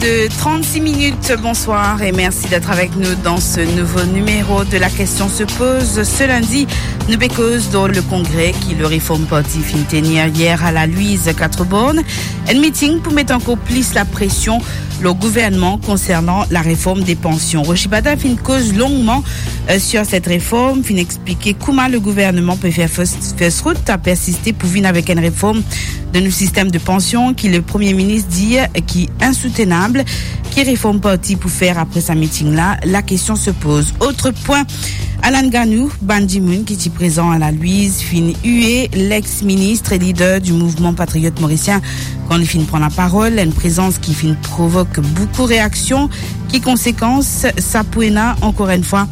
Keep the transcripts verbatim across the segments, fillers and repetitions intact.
De trente-six minutes, bonsoir et merci d'être avec nous dans ce nouveau numéro de La Question se pose. Ce lundi, nou pe koz dan le congrès ki le Reform Party finn tenir yer a la Louise Quatre-Bornes. Enn meeting pou met ankor plis la presion lor gouvernman konsernan la reform de pansion. Rochi Badin finn koz longman, euh, sur cette réforme, finn explike kouma le gouvernman pe fer fos, fos rout, a persiste pou vinn avek enn reform de nou sistem de pansion ki le Premie Minis dir ki insoutenab. Ki Reform Party pou fer apre sa meeting la? La question se pose. Autre point, Alan Ganou, bann dimoun ki ti prezan a la Louise, finn ue lex-minis e lider du mouvman patriot morisien kan li finn pran laparol, enn prezans ki finn provok boukou reaksion. Ki konsekans sa pou ena? Ankor enn fwa,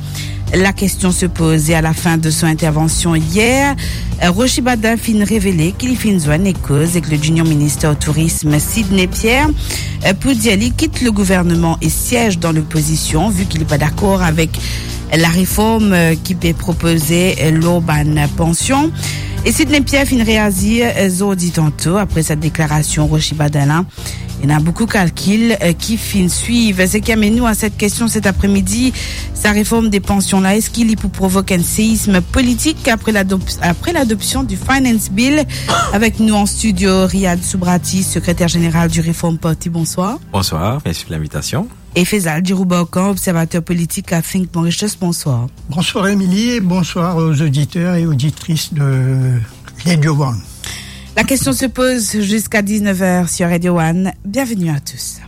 la question se pose. A la fin de son intervention hier, euh, Rochi Badin finn revele ki li finn zwenn e koz ek le Junior Minister au Tourisme, Sidney Pierre, euh, pou dir li kit le gouvernman e siez dan lopozision, vi ki li pa dakor avek la reform, euh, ki pe propoze, euh, lor bann pansion. E Sidney Pierre finn reazir, euh, zordi tanto, apre sa deklarasion Rochi Badin la. Ena boukou kalkil, euh, ki finn swiv. Seki amenn nou a set kestion set apremidi, sa reform de pansion la, eski li pou provok enn seism politik apre ladop-, apre ladopsion du Finance Bill? Avek nou an studio, Riyad Soubrati, sekreter zeneral du Reform Party. Bonsoir. Bonsoir, mersi pou linvitasion. E Faisal Giroubokan, observater politik a Think Mauritius, bonsoir. Bonsoir Émilie, et bonsoir aux auditeurs et auditrices de Radio One. La question se pose jusqu'à dix-neuf heures sur Radio One. Bienvenue à tous.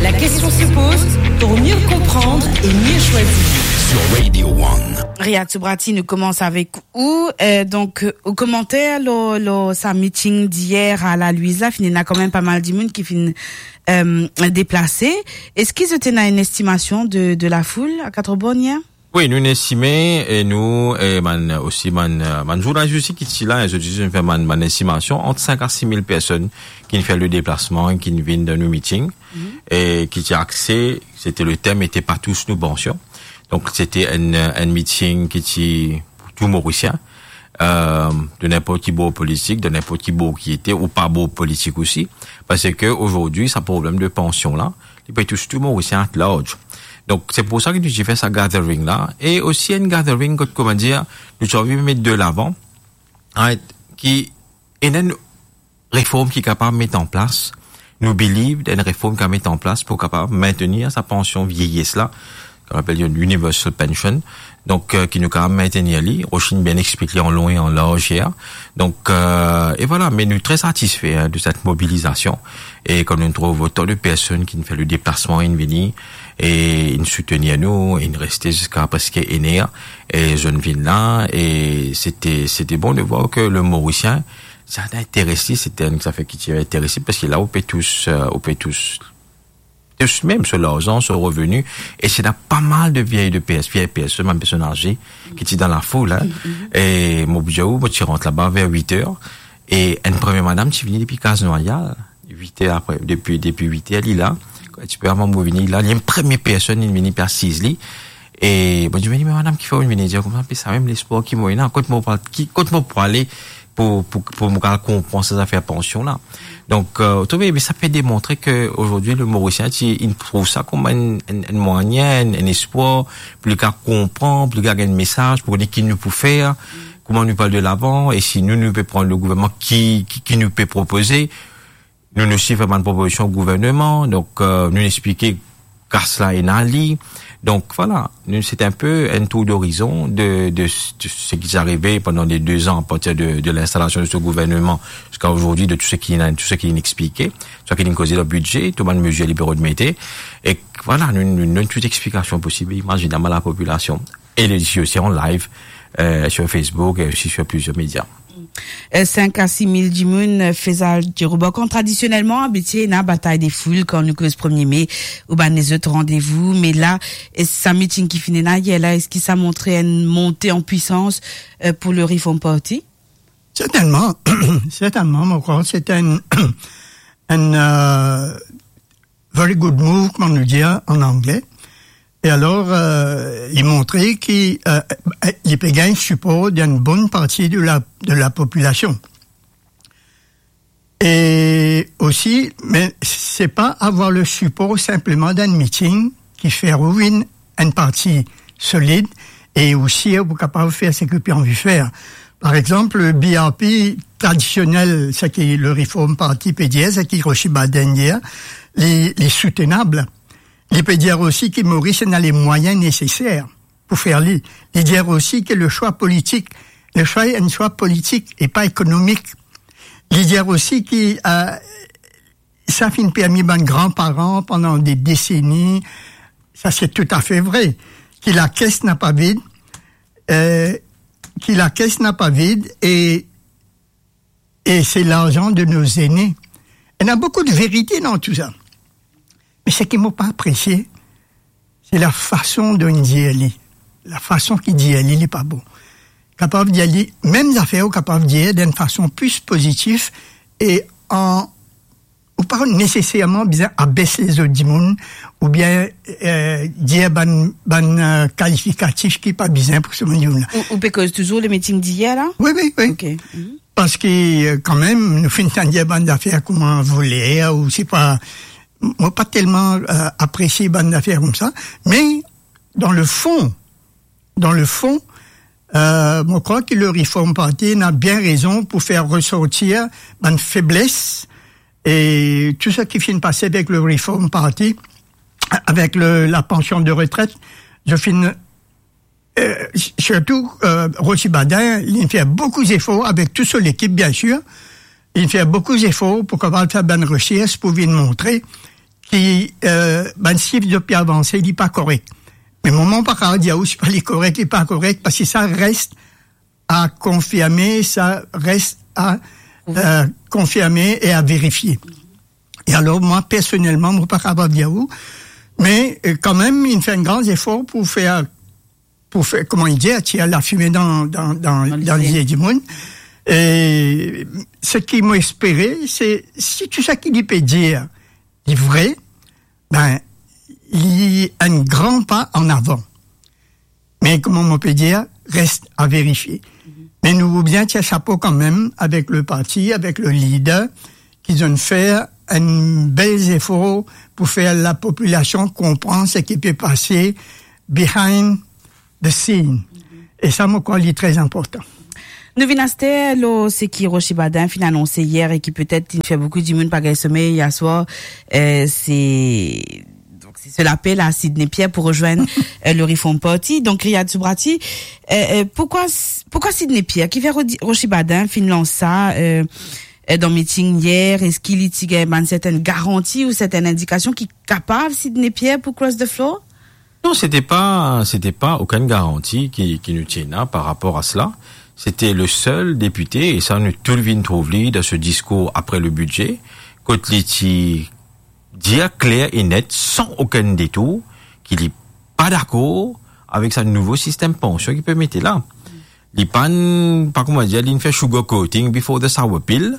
La question se pose pour mieux comprendre et mieux choisir. Sur Radio One. Riyad Soubrati, nou koumans avek ou. Euh, donk, euh, ou komanter lor, lor sa meeting diyer a la Louise la, finn ena kanmem pa mal dimoun ki finn, euh, deplase. Eski zot ena enn estimasion de, de lafoul a Quatre-Bornes yer? Wi, nou inn estime, e nou, e bann, osi bann, bann zournalis osi ki ti la, zot osi inn fer bann, bann estimasion, ant cinq à six mille personn ki inn fer le deplasman, ki inn vinn dan nou meeting, e ki ti axe, sete le tem ete pa tous nou pansion. Donk, sete enn, enn meeting ki ti pou tou Morisien, euh, de ninport ki bor politik, de ninport ki bor ki ete, ou pa bor politik osi, parski azordi, sa problem de pansion la, li pe tous tou Morisien at large. Donk, se pou sa ki nou ti fer sa gathering la, e osi enn gathering kot, kouma dir, nou ti anvi met de lavan, right, ki ena enn reform ki kapav met an plas. Nou believe dan enn reform ki kapav met an plas pou kapav maintenir sa pansion vieyes la, ki apel universal pension. Donk, euh, ki nou kapav maintenir li, Rochi inn bien explik li an long e an larz yer. Donk, euh, e vwala, me nou tre satisfe, hein, de set mobilizasion. E kan nou trouv otan de personn ki inn fer le deplasman, inn vini, e inn soutenir nou, inn reste ziska preske enn er, e zot inn vinn la, e sete, sete bon de vwar ke le Morisien, sa inn interes li, sete enn zafer ki ti interes li, parski la, ou pe tous, euh, ou pe tous, tous mem so larzan, so reveni, e sete pa mal de vie de PS, vie personn, mem personn aze, ki ti dan lafoul, hein. E mo pou dir ou, mo ti rant laba ver wit er, e enn premie madam ti vini depi Kaz Nwayal, wit er apre, depi, depi wit er, li la, enn tipe avan mo vini la, li enn premie personn, li vini pe asiz li, e mo dir, me, me madam, kifer ou vini? Dir koumsa, pe sa mem lespwar ki mo ena, kot mo pou al, ki, kot mo pou ale pou, pou, pou mo al konpran sa zafer pansion la. Donk, euh, ou trouve, me sa pe demontre ke azordi, le Morisien, ti, inn trouv sa kouma enn, enn, enn mwayin, enn, enn espwar, pou li kapav konpran, pou li kapav gagn mesaz, pou kone ki nou pou fer, kouma nou pou al de lavan, e si nou, nou pe pran le gouvernman, ki, ki, ki nou pe propoze. Nou, nou osi fer bann propozision o gouvernman, donk, euh, nou explike kas la ena li. Donk, vwala, nou, se enn pe enn tour d'horizon de, de, de seki ti arive pandan le de zan, a partir de, de linstalasion de se gouvernman ziska azordi, de tou seki inn, tou seki inn explike, tou seki inn koze dan bidze, tou bann mezir li pe rod mete. E vwala, nou, nou, nou donn tou explikasion posib e imazinab a lapopilasion. E li osi an live, euh, sur Facebook e osi sur plizier media. Euh, cinq à six mille dimoun, euh, Faisal Giroubokan. Tradisionelman, abitie, ena batay de foul kan nou koz premie me ou bann lezot randevou. Me la, e sa meeting ki finn ena yer la, eski sa montre enn monte an pwisans, euh, pou le Reform Party? Sertennman, sertennman, mo krwar se enn, enn, euh, very good move, kouma nou dir an angle. E alor, euh, li montre ki, euh, euh, li pe gagn sipor d'enn bonn parti de la, de lapopilasion. E osi, me se pa avoir le sipor sinpleman dan enn miting ki fer ou vinn enn parti solid e osi ou kapav fer seki ou pe anvi fer. Par exanp, le B R P tradisionel, seki le Reform Party pe dir, seki Roshi Baden dir, li, li soutenab. Li pe dir osi ki Moris ena le mwayin neseser pou fer li. Li dir osi ki le swa politik, le swa enn swa politik e pa ekonomik. Li dir osi ki, eh, sa finn permi bann granparan pandan de deseni, sa se toutafe vre, ki lakes napa vid, eh, ki lakes napa vid e, e se larzan de no zene. Ena boukou de verite dan tou sa. Me seki mo pa apresie, se lafason dont dir li. Lafason ki dir li, li pa bon. Kapav dir li, mem zafer ou kapav dir dan enn fason plis pozitif e an, ou pa neseserman bizin abes lezot dimoun, oubien, eh, dir bann, bann, eh, kalifikatif ki pa bizin pou sa bann dimoun la. Ou, ou pe koz touzour le miting diyer la? Wi, wi, wi. Ok. Mhm. Parski, eh, kanmem, nou finn tann dir bann zafer kouma voler, ou se pa, mo pa telman, eh, apresie bann zafer koumsa, me dan le fon, dan le fon, eh, mo krwar ki le Reform Party ena bien rezon pou fer resortir bann febles e tou seki finn pase avek le Reform Party, avek le, la pansion de retret, zot finn, eh, s-, sirtou, eh, Roshi Baden, li fer boukou zefor avek tou so lekip, biensir. Li fer boukou zefor pou kapav fer bann resers pou vinn montre ki, eh, bann sif zot pe avanse, li pa korek. Me moman pa kapav dir ou si pa li korek, li pa korek, parski sa res a konfirme, sa res a, eh, konfirme e a verifie. E alor, mwa, personelman, mo pa kapav dir ou, me, eh, kanmem, li fer enn gran zefor pou fer, pou fer, kouma li dir, tir lafime dan, dan, dan, Dan dan lizie. lizie dimoun. E seki mo espere, se si tou seki li pe dir, li vre, ben, li enn gran pa an avan. Me kouma mo pe dir, res a verifie. Me nou pou bizin tir sapo kanmem avek le parti, avek le lider, ki zot fer enn bel zefor pou fer lapopilasion konpran seki pe pase behind the scene. E sa, mo krwar li tre inportan. Nou vinn aster lor seki Roshi Baden finn anonse yer e ki petet inn fer boukou dimoun pa gagn somey yer swar, eh, se, donk, se so lapel a Sidney Pierre pou rezwenn, eh, le Reform Party. Donk, Riyad Soubrati, eh, eh, poukwa, poukwa Sidney Pierre? Kifer Rodi-, Roshi Baden finn lans sa, eh, eh, dan miting yer? Eski li ti gagn bann sertenn garanti ou sertenn indikasion ki kapav Sidney Pierre pou cross the floor? Non, se ti pa, se ti pa okenn garanti ki, ki nou ti ena par rapor a sela. Se ti le sel depite, e sa nou tou vinn trouv li dan so diskour apre le bidze, kot li ti dir kler e net, san okenn detour, ki li pa dakor avek sa nouvo sistem pansion ki pe mete la. Li pa'nn, pa kouma dir, li'nn fer sugar coating before the sour pill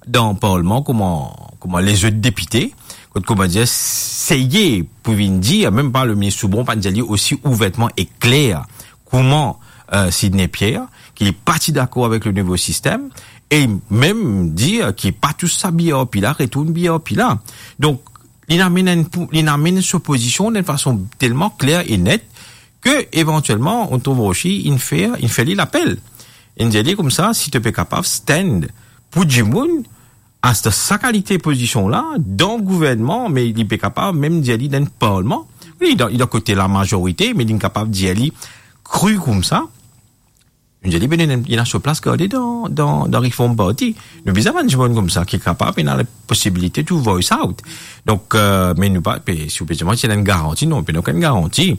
dan parlman kouma, kouma lezot depite, kot, kouma dir, seye pou vinn dir, mem pa le minis Soubron pa'nn dir li osi ouvertman e kler kouma, eh, Sidney Pierre, ki li pa ti dakor avek le nouvo sistem, e mem dir ki pa tous sa B R P la, retourn B R P la. Donk, li'nn amenn enn pou-, li'nn amenn so pozision dan enn fason telman kler e net, ke evantielman, nou trouv Roshi, inn fer, inn fer li lapel. Inn dir li koumsa, si to pe kapav stand pou dimoun, a sa, sa kalite pozision la, dan gouvernman, me li pe kapav mem dir li dan parlman. Wi, li dan, li dan kote lamazorite, me li'nn kapav dir li kri koumsa. Nou dir li, be, ena, ena so plas garde dan, dan, dan Reform Party. Nou bizin bann dimoun koumsa ki kapav, ena posibilite to voice out. Donk, eh, me nou pa, pe, si ou pe dir mwa, ti ena enn garanti, non, pena okenn garanti.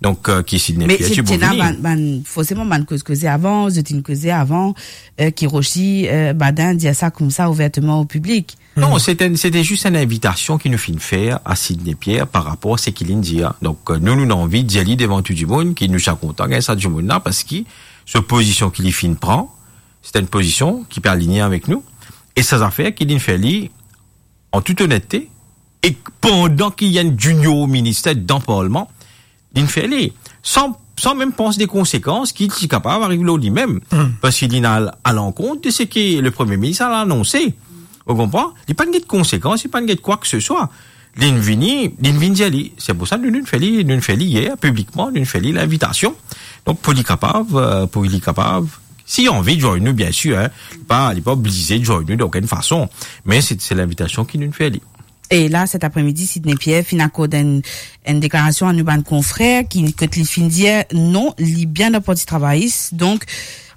Donk, eh, ki si Me Nepia ti ti pou ena vini. bann, bann, forseman, bann koz, koze avan, zot inn koze avan, eh, ki Roshi, eh, Baden dir sa koumsa ouverteman o piblik. Non, Hmm. se te, se te zis enn invitasion ki nou finn fer a Sidney Pierre par rapor a seki li'nn dir. Donk, eh, nou, nou, nou anvi dir li devan tou dimoun ki nou ti a kontan gagn sa dimoun la, parski so pozision ki li finn pran, se enn pozision ki pe aligne avek nou. E sa zafer ki li'nn fer li, an tout onette, e pandan ki ena enn junior minister dan parlman, li'nn fer li, san, san mem pans de konsekans ki ti kapav ariv lor limem, Hmm. parski li'nn al alankont de seki le Premie Minis al anonse. Ou konpran? Li pa'nn get konsekans, li pa'nn get kwa ke se swa. Li'nn vini, li'nn vinn dir li. Se pou sa nou, nou'nn fer li, nou'nn fer li yer, piblikman, nou'nn fer li linvitasion. Donk, pou li kapav, euh, pou li kapav, si li anvi join nou, biensir, hein, li pa, li pa oblize join nou dan okenn fason. Me se, se linvitasion ki nou'nn fer li. E la, set apremidi, Sidney Pierre finn akord enn, enn deklarasion a nou bann konfrer ki, kot li finn dir non, li bien dan Parti Travayis, donk,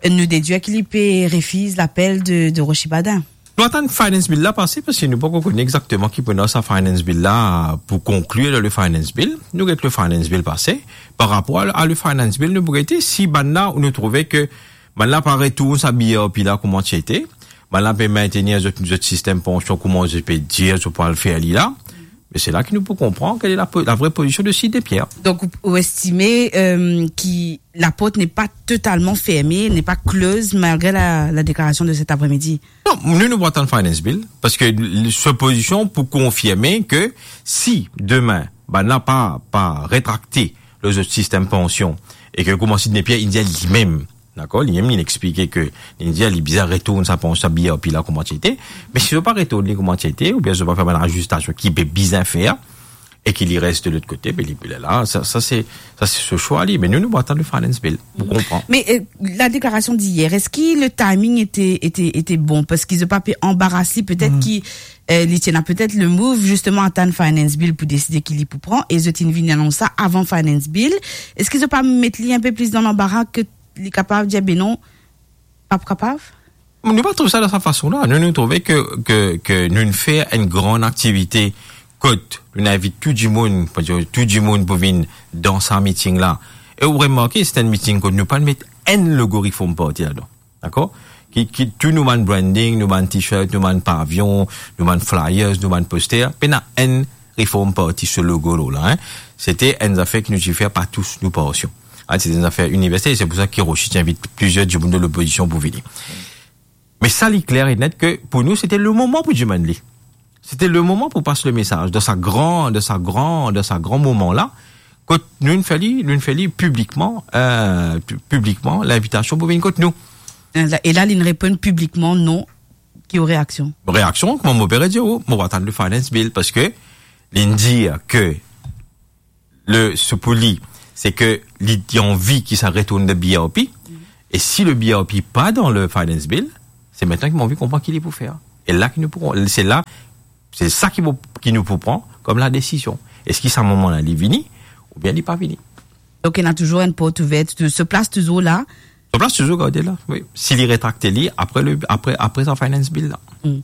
nou dedir ki li pe refiz lapel de, de Rochi Badan. Nou atann Finance Bill la pase, paski nou pa'kone exakteman ki pou dan sa Finance Bill la pou konklir dan le Finance Bill. Nou get le Finance Bill pase. Par rapor a, a le Finance Bill, nou pou gete si bann la ou nou trouve ke bann la pa retourn sa B R P la kouma ti ete, bann la pe mintenir zot, zot sistem pansion kouma zot pe dir zot pou al fer li la. Me se la ki nou pou konpran kale la po-, la vre pozision de Sidney Pierre. Donc, vous, vous estimez, euh, que la porte n'est pas totalement fermée, n'est pas close, malgré la, la déclaration de cet après-midi ? Non, nou, nou pou atann Finance Bill, paski l-, se pozision pou konfirme ke si demin, bann la pa, pa retrakte lor zot sistem pansion, e ke kouma Sidney Pierre, li dir limem, dakor, limem, li explike ke, li dir li bizin retourn sa pansion, sa B R P la kouma ti ete, me si zot pa retourn li kouma ti ete, oubien zot pa fer bann lazistasion ki pe bizin fer, e ki li res de lot kote, be li, li la, sa, sa se, sa se so swa li. Me nou, nou pou atann le Finance Bill, pou konpran. Mais, euh, la déclaration d'hier, est-ce que le timing était, était, était bon ? Parce qu'ils ont pas pu embarrasser, peut-être qui, euh, li ti ena peut-être le move, justement, atann Finance Bill pou deside ki li pou pran, e zot inn vinn anons sa avan Finance Bill. Est-ce qu'ils ont pas met li un peu plus dans l'embarras ke li kapav dir, be non, pa pou kapav? Nou pa trouv sa dan sa fason la. Nou, nou trouve ke, ke, ke nou fer enn gran aktivite kot nou invit tou dimoun, pou dir tou dimoun pou vinn dan sa meeting la. E ou remarke, se enn meeting kot nou pa met enn logo Reform Party ladan. Dakor? Ki, ki tou nou bann branding, nou bann t-shirt, nou bann pavion, nou bann flyers, nou bann poster, pena enn Reform Party so logo la, hein. Sete enn zafer ki nou ti fer par tous nou pansion. Ah, sete enn zafer iniversel, se pou sa ki Rochi ti invit plizier dimoun de lopozision pou vini. Me sa, li kler e net ke pou nou, sete le moman pou dimann li. Sete le moman pou pas le mesaz dan sa gran, dan sa gran, dan sa gran moman la, kot nou fer li, nou fer li piblikman, euh, pi-, piblikman, linvitasion pou vinn kot nou. E la, e la, li reponn piblikman non, ki ou reaksion? Reaksion, kouma mo pe dir, oh, mo atann le Finance Bill, paski li dir ke le, se pou li, se ke li, li anvi ki sa retourn dan B R P, e si le B R P pa dan le Finance Bill, se aster ki mo anvi konpran ki li pou fer. E la ki nou pou, se la, se sa ki pou, ki nou pou pran kom la desizion. Eski sa moman la li vini, oubien li pa vini? Donk, ena touzour enn port ouver, tou, so plas touzour la. So plas touzour garde la, wi. Si li retrakte li apre le, apre, apre sa Finance Bill la. Hmm.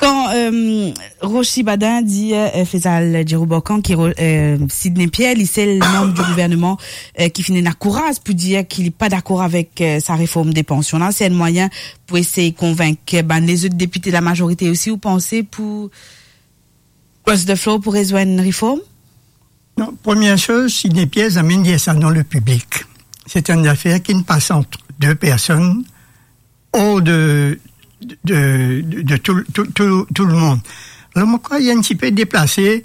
Kan, euh, Rochi Badan dir, euh, Faisal Djerouborkan ki ro-, euh, Sidney Pierre, li sel manb di gouvernman, euh, ki finn ena kouraz pou dir ki li pa dakor avek, euh, sa reform de pansion la, se enn mwayin pou esey konvink bann lezot depite lamazorite osi, ou panse, pou cross the floor pou rezwenn reform? Non, première chose, Sidney Pierre zame dir sa dan le piblik. C'est une affaire qui ne passe entre deux personnes, hors de, de, de, de tout, tout, tout, tout le monde. Alors, mo krwar li enn tipe deplase,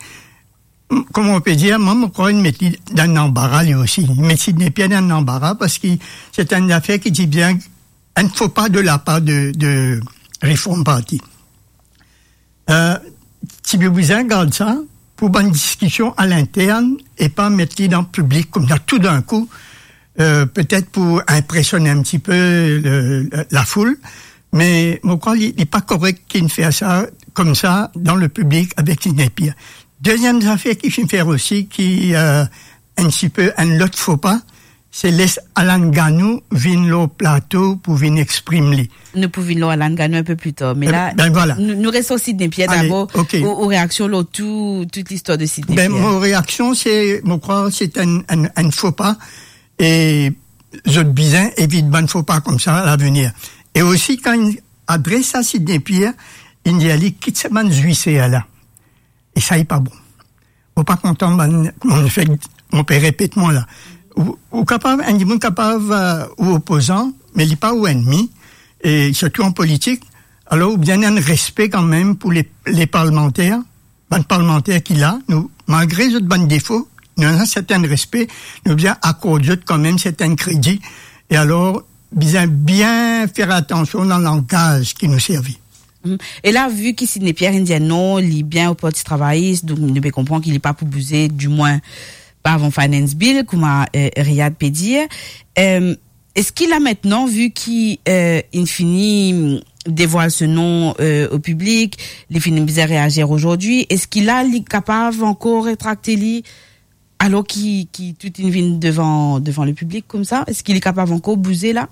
m-, kouma ou pe dir, mwa, mo krwar li met li dan lanbara, li osi. Li met Sidney Pierre dan lanbara, paski se enn zafer ki ti bien, enn fo pa de la par de, de Reform Party. Euh, ti pe bizin gard sa pou bann diskision a lintern e pa met li dan piblik koumsa tou dan kou, euh, petet pou inpresionn enn tipe le, la, lafoul, me mo krwar li, li pa korek ki inn fer sa koumsa dan le piblik avek Sidney Pierre. Deziem zafer ki finn fer osi ki, euh, enn tipe enn lot fo pa, se les Alan Gano vinn lor plato pou vinn exprim li. Nou pou vinn lor Alan Gano enn pe pli tar, me la, ben, voilà. Nou, nou res lor Sidney Pierre dabor, ok. Ou, ou reaksion lor tou, tout listwar de Sidney Pierre. Ben, mo reaksion, se, mo krwar, se enn, enn, enn fo pa, e zot bizin evit bann fo pa koumsa lavenir. E osi, kan inn adres a Sidney Pierre, inn dir li kit sa bann zwiser la. E sa, li pa bon. Mo pa kontan bann, mo fek, mo pe repet mwa la. Ou, ou kapav, enn dimoun kapav, euh, ou opozan, me li pa ou ennmi, e sirtou an politik, alor ou bizin ena enn respe kanmem pou le, le parlmanter, bann parlmanter ki la, nou, malgre zot bann defo, nou ena sertin respe, nou bizin akord zot kanmem sertin kredi, e alor, bizin bien fer atansion dan langaz ki nou servi. Mhm. E la, vi ki Sidney Pierre inn dir non, li bien o Parti Travayis, donk nou pe konpran ki li pa pou bouze, dimwin pa avan Finance Bill, kouma, eh, Riyad pe dir. Em, eski la aster, vi ki, eh, inn fini, mm, devwal so non, eh, o piblik, li fini bizin reazir azordi, eski la li kapav ankor retrakte li, alor ki, ki tou inn vinn devan, devan lepiblik koumsa? Eski li kapav ankor bouze la?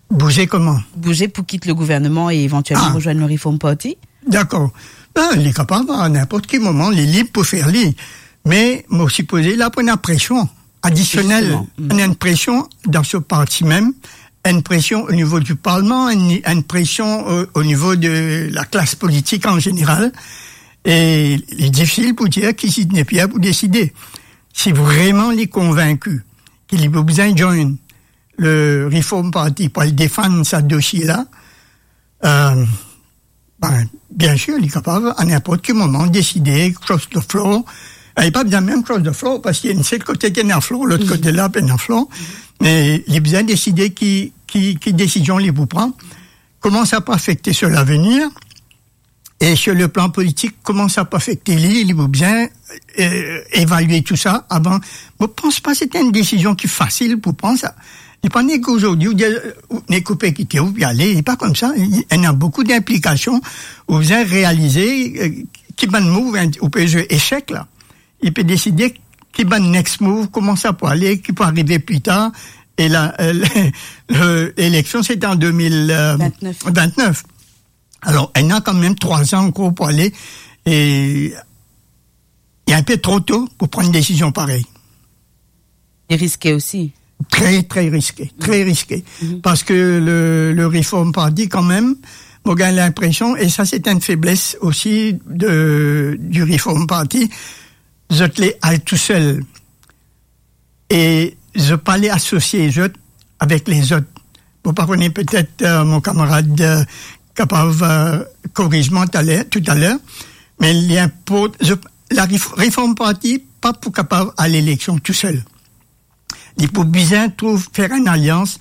Bouze kouma? Bouze pou kit legouvernman e evantielman Ah. rezwenn le Reform Party? Dakor. Ben, li kapav, a ninport ki moman, li lib pou fer li. Me mo sipoze li ena presion adisionel. Zisteman. Mm. Ena enn presion dan so parti mem, enn presion o nivo di parlman, enn, enn presion o, o nivo de laklas politik an zeneral. E li difisil pou dir ki Sidney Pierre pou deside. Si vreman li konvinki ki li pou bizin join le Reform Party pou al defann sa dosie la, eh, ben, biensir, li kapav a ninport ki moman deside cross the floor. Eh, li pa bizin mem cross the floor, parski enn sel kote ki ena floor, lot kote la pena floor. Me li bizin deside ki, ki, ki desizion li pou pran, kouma sa pou afekte so lavenir, e sur le plan politik, kouma sa pou afekte li, li pou bizin, eh, evalie tou sa avan. Mo pans pa se enn desizion ki fasil pou pran sa. Li pa nek azordi ou dir, ou nek ou pe kite, ou pe ale, li pa koumsa. Li, ena boukou dinplikasion, ou bizin realize, eh, ki bann move, hein, ou pe zwe esek la. Li pe deside ki bann next move, kouma sa pou ale, ki pou arive pli tar. E la, eh, le, le, eleksion, se te an de mil, eh, Vintnef. vintnef. Alor, ena kanmem trwa an ankor pou ale, e li enn pe tro to pou pran enn desizion parey. E riske osi. Tre, tre riske, tre riske. Mhm. Parski le, le Reform Party, kanmem, mo gagn linpresion, e sa se enn febles osi de, di Reform Party, zot le al tousel. E zot pa le asosie zot avek lezot. Mo pa kone, petet, eh, mo kamarad, eh, kapav, eh, koriz mwa taler, toutaler, me li inport-, zot, la Ref-, Reform Party pa pou kapav al eleksion tousel. Li pou bizin trouv, fer enn alians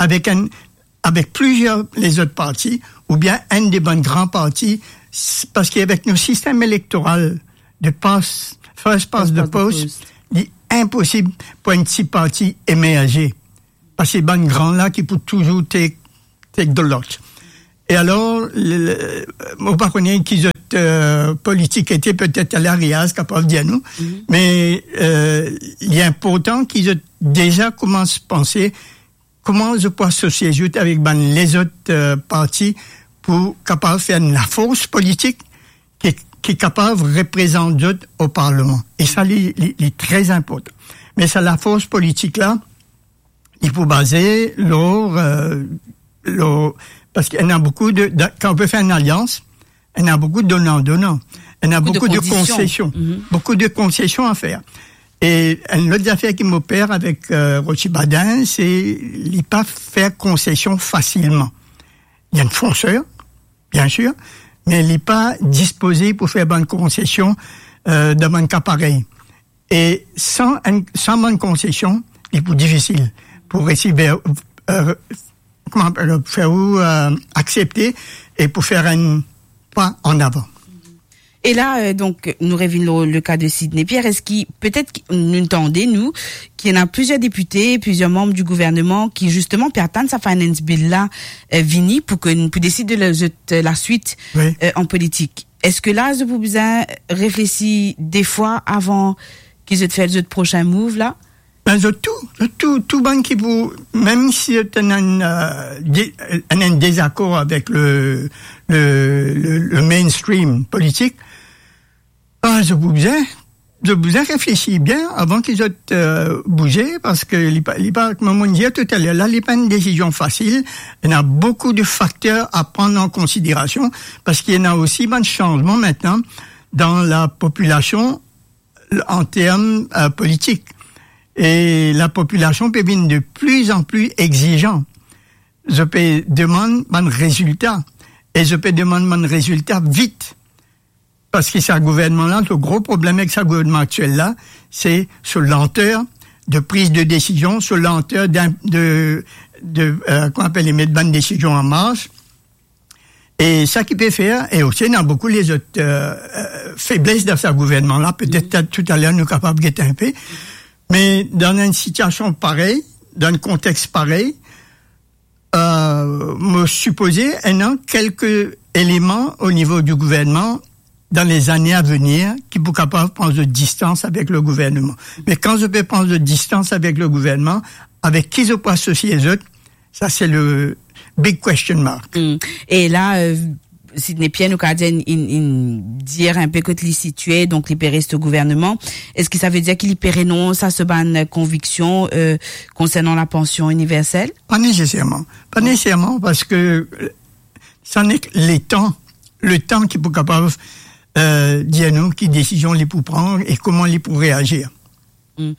avek enn, avek plizier lezot parti, oubien enn de bann gran parti, s-, parski avek nou sistem elektoral de pass, first past the post, li inposib pou enn ti parti emerze. Parski bann gran la ki pou touzour take, take the lot. E alor, le, le, mo pa kone ki zot, eh, politik ete, petet Alain Riaz kapav dir nou, me, eh, li inportan ki zot deza koumans panse kouma zot pou asosie zot avek bann lezot, eh, parti pou kapav fer enn lafors politik ki, ki kapav reprezant zot o parlman. E sa, li, li, li tre inportan. Me sa lafors politik la, li pou baze lor, eh, lor, parski ena boukou de, de, kan ou pe fer enn alians, ena boukou donan-donan, ena boukou de konsesion, boukou de konsesion a fer. E enn lot zafer ki mo per avek, eh, Roche Badin, se li pa fer konsesion fasilman. Li enn fonser, biensir, me li pa dispoze pou fer bann konsesion, eh, dan bann ka parey. E san enn, san bann konsesion, li pou difisil pou resi ver, eh, kouma apel, fer ou, eh, aksepte e pou fer enn pa an avan. E la, eh, donk, nou revinn lor le ka de Sidney Pierre. Eski, petet ki, nou tande, nou, ki ena plizier depite, plizier manm di gouvernman ki, zisteman, pe atann sa Finance Bill la, eh, vini pou ke, pou desid de la, zot, eh, laswit, eh, an politik. Eski la, zot pou bizin reflesi de fwa avan ki zot fer zot prosin move la? Ben, zot tou, zot tou, tou bann ki pou, mem si zot ena enn, eh, de-, ena enn dezakor avek le, le, le, le mainstream politik, ah, zot pou bizin, zot pou bizin reflesi bien avan ki zot, eh, bouze, parski li pa, li pa, kouma mo dir toutaler la, li pa enn desizion fasil. Ena boukou de fakter a pran an konsiderasion, parski ena osi bann sanzman aster dan lapopilasion an term, eh, politik. E lapopilasion pe vinn de pli an pli egzizan. Zot pe demann bann rezilta. E zot pe demann bann rezilta vit. Parski sa gouvernman la, so gro problem ek sa gouvernman aktiel la, se so lanter de priz de desizion, so lanter d'in-, de, de, eh, kouma apel, met bann desizion an mars. E sa ki pe fer, e osi ena boukou lezot, euh, euh, febles dan sa gouvernman la, petet, mm, toutaler nou kapav gete inpe, me dan enn sitiasion parey, dan enn kontex parey, euh, mo sipoze ena kelke eleman o nivo di gouvernman dan lezane a venir ki pou kapav pran zot distans avek le gouvernman. Me kan zot pe pran zot distans avek le gouvernman, avek ki zot pou asosie zot, sa se le big question mark. Mm. E la, euh, Sidney Pierre, nou kapav dir, inn, inn, inn dir inpe kot li sitie, donk li pe res o gouvernman. Eski sa ve dir ki li pe renons a so bann konviksion, euh, konsernan lapansion iniversel? Pa neseserman. Pa neseserman, parski, euh, sa nek letan, letan ki pou kapav, euh, dir nou ki desizion li pou pran e kouma li pou reazir. Mm.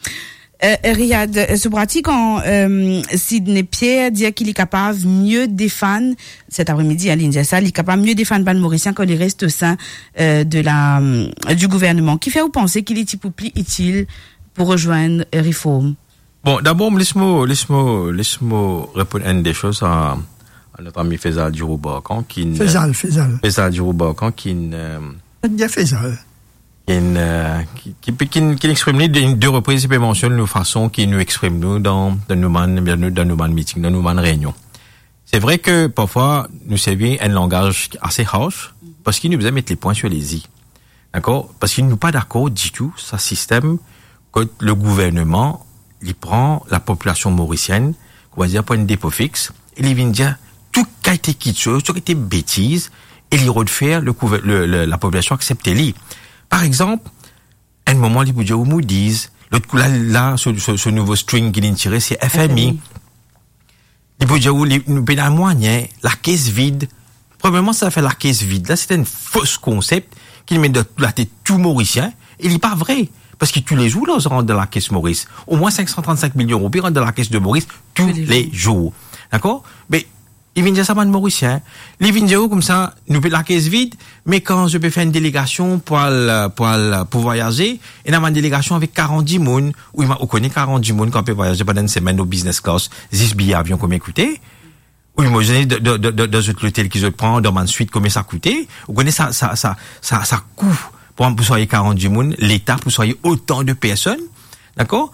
Euh, Riyad, euh, so pratik, kan, euh, Sidney Pierre dir ki li kapav mie defann, set apremidi, hein, li dir sa, li kapav mie defann bann Morisien kan li res o sein, euh, de la, euh, di gouvernman. Kifer ou panse ki li ti pou pli itil pou rezwenn, euh, Reform? Bon, dabor, les mo, les mo, les mo reponn enn de soz a, a not ami Faisal Giroux-Barkhane, ki n-, Faisal, Faisal. Faisal Giroux-Barkhane, ki n-, euh, Bien Faisal. Ki n-, euh, ki, ki, ki, ki exprim li de, de repriz, li pe mansionn nou fason ki nou exprim nou dan, dan nou bann, dan nou, dan nou bann meeting, dan nou bann reynion. Se vre ke parfwa nou servi enn langaz ase harsh, parski nou bizin met le pwin sir les i. Dakor? Parski nou pa dakor ditou sa sistem kot le gouvernman, li pran lapopilasion morisienn, koumadir, pou enn depo fix, e li vinn dir tou kalite kitsoz, tou kalite betiz, e li rod fer le gouver-, le, le, lapopilasion aksepte li. Par exanp, enn moman, li pou dir ou Moody's, lot kou la, la, so, so, so nouvo string ki linn tire, se F M I. F M I. Li pou dir ou, li, nou pena mwayin, lakes vid. Premierman, sa fer lakes vid la, se enn fos konsep ki met dan latet tou Morisien, e li pa vre. Parski toulezour, larzan rant dan lakes Moris. Omwin sink san trannsink milion roupi rant dan lakes de Moris toulezour. Toulezour. Dakor? Me, li vinn dir sa bann Morisien. Li vinn dir ou koumsa, nou pe lakes vid, me kan zot pe fer enn delegasion pou al, pou al, pou vwayaze, ena bann delegasion avek karant dimoun, ou ima-, ou kone karant dimoun kan pe vwayaze pandan enn semenn o business class, zis biye avion konbien koute? Ou imazine dan, dan, dan, dan, dan zot lotel ki zot pran, dan bann swit, konbien sa koute? Ou kone sa, sa, sa, sa, sa kou pou, pou swagne karant dimoun, Leta pou swagne otan de personn, dakor?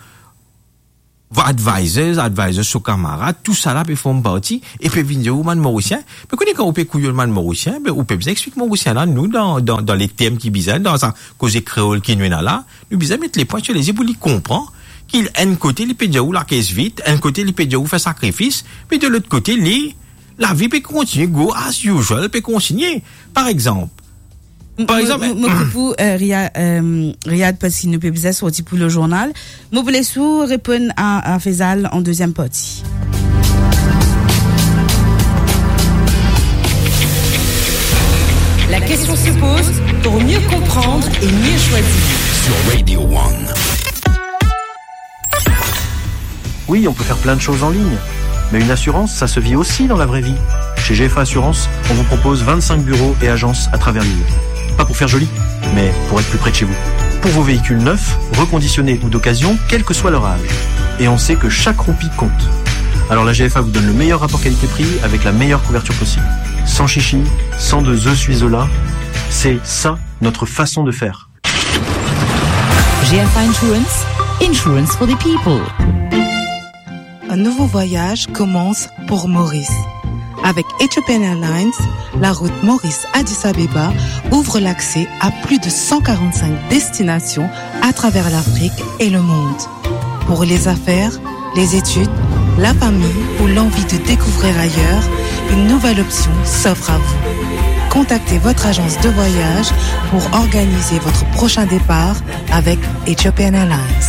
Advisors, advisors so kamarad, tousala pe form parti, e pe vinn dir ou bann Morisien. Me kone kan ou pe kouyonn bann Morisien, be, ou pe bizin explik Morisien la, nou, dan, dan, dan le term ki bizin, dan sa koze kreol ki nou ena la, nou bizin met le pwin sir les i pou li konpran ki enn kote li pe dir ou lakes vid, enn kote li pe dir ou fer sakrifis, me de lot kote li, lavi pe kontigne, go as usual pe kontigne. Par exanp, par exanp, mo, mo, mo koup ou, euh, Ria-, euh, Riyad, parski nou pe bizin sorti pou le journal. Mo pou les ou reponn a, a Faisal an deziem parti. La question se pose pour mieux comprendre et mieux choisir. Sur Radio One. Oui, on peut faire plein de choses en ligne, mais une assurance, ça se vit aussi dans la vraie vie. Chez G F A Assurance, on vous propose vingt-cinq bureaux et agences à travers l'île. Pas pour faire joli, mais pour être plus près de chez vous. Pour vos véhicules neufs, reconditionnés ou d'occasion, quel que soit leur âge. Et on sait que chaque roupie compte. Alors la G F A vous donne le meilleur rapport qualité-prix avec la meilleure couverture possible. Sans chichi, sans de je suis là, c'est ça notre façon de faire. G F I Insurance, insurance for the people. Un nouveau voyage commence pour Maurice. Avec Ethiopian Airlines, la route Maurice-Addis Abeba ouvre l'accès à plus de cent quarante-cinq destinations à travers l'Afrique et le monde. Pour les affaires, les études, la famille ou l'envie de découvrir ailleurs, une nouvelle option s'offre à vous. Contactez votre agence de voyage pour organiser votre prochain départ avec Ethiopian Airlines.